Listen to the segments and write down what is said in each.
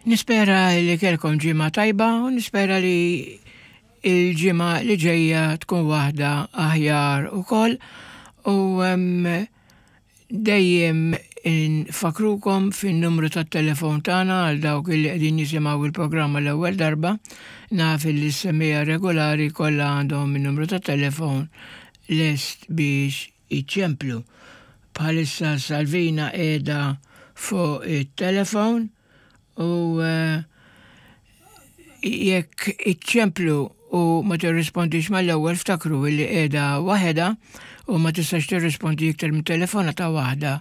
Nispera li kellkom ġimgħa tajba u nispera li il-ġimgħa li ġejja tkun waħda aħjar ukoll u dejjem infakrukom fin-numru tat-telefon tagħna għal dawk li qegħdin jisimgħu il-programma l-ewwel darba. Naf li s-semmiegħa regolari kollha għandhom in-numru tat-telefon lest biex iċemplu. Bħalissa Salvina qiegħda fuq it-telefon u eh, jekk iċċemplu u ma tirrispondix mal-ewwel ftakru li qiegħda waħedha u ma tistax tirrispondi iktar minn telefonata waħda.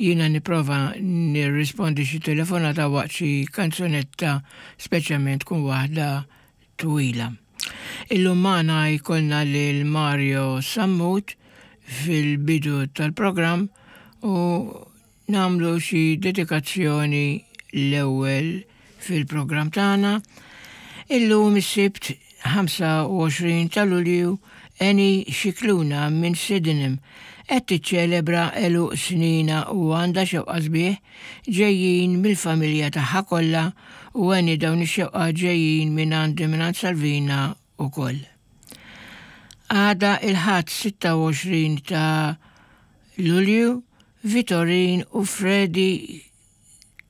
Jiena nipprova nirrispondi xi telefonata waqt xi kanzunetta speċjalment tkun waħda twila. Illum magħna jkollna lil Mario Sammut fil-bidu tal-programm u nagħmlu xi dedikazzjoni l-ewwel fil-programm tagħna. Illum is-Sibt 25 ta' Lulju Eni Scicluna minn Sydenham qed tiċċelebra għeluq snina u għandha xewqa sbieħ ġejjin mill-familja tagħha kollha u Eni dawn ix-xewqat ġejjin mingħandi mingħand Salvina ukoll. Għada il-Ħadd 26 ta' Lulju Vitorin u Freddie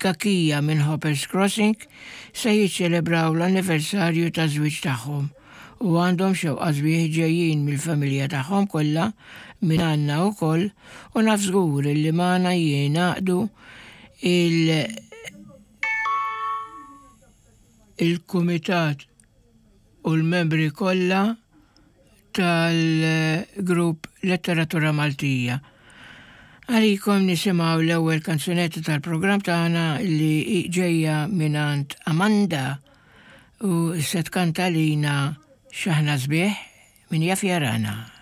Cachia minn Hoppers Crossing se jiċċelebraw l-anniversarju taż-żwieġ tagħhom u għandhom xewqa sbieħ ġejjin mill-familja tagħhom kollha minn għandna wkoll u naf żgur illi magħna jingħaqdu il il-kumitat u l-membri kollha tal-grupp Letteratura Maltija. Għalikom nisimgħu l-ewwel kanzunetta tal-programm tagħna li ġejja mingħand Amanda u se tkanta lina X'aħna sbieħ min jaf jarana.